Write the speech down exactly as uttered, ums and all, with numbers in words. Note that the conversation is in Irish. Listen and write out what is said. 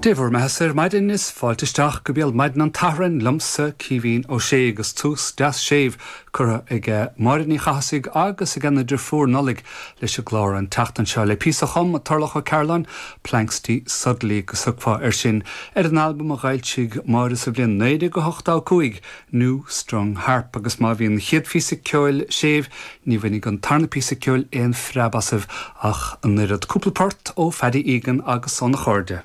Dé bhur mbeatha ar maidin is fáilte isteach go béal maidin an tSathairn liomsa Caoimhín Ó Sé agus tús deas séimh curtha ag Máire Ní Chathasaigh agus ag an deirfiúr Nollaig leis an gclár an tseachtain seo le píosa a chum Turlough Ó Cairealláin Planxty Suddenly agus thugfá air sin ar an albam a d'fhoilsigh Máire sa bhliain naoi déag ochtó cúig New Strung Harp agus má bhí an chéad phíosa ceoil séimh ní bhainfidh an tarna píosa ceoil aon phreab asaibh ach an oiread cúpla port ó Phaddy Egan agus óna chairde.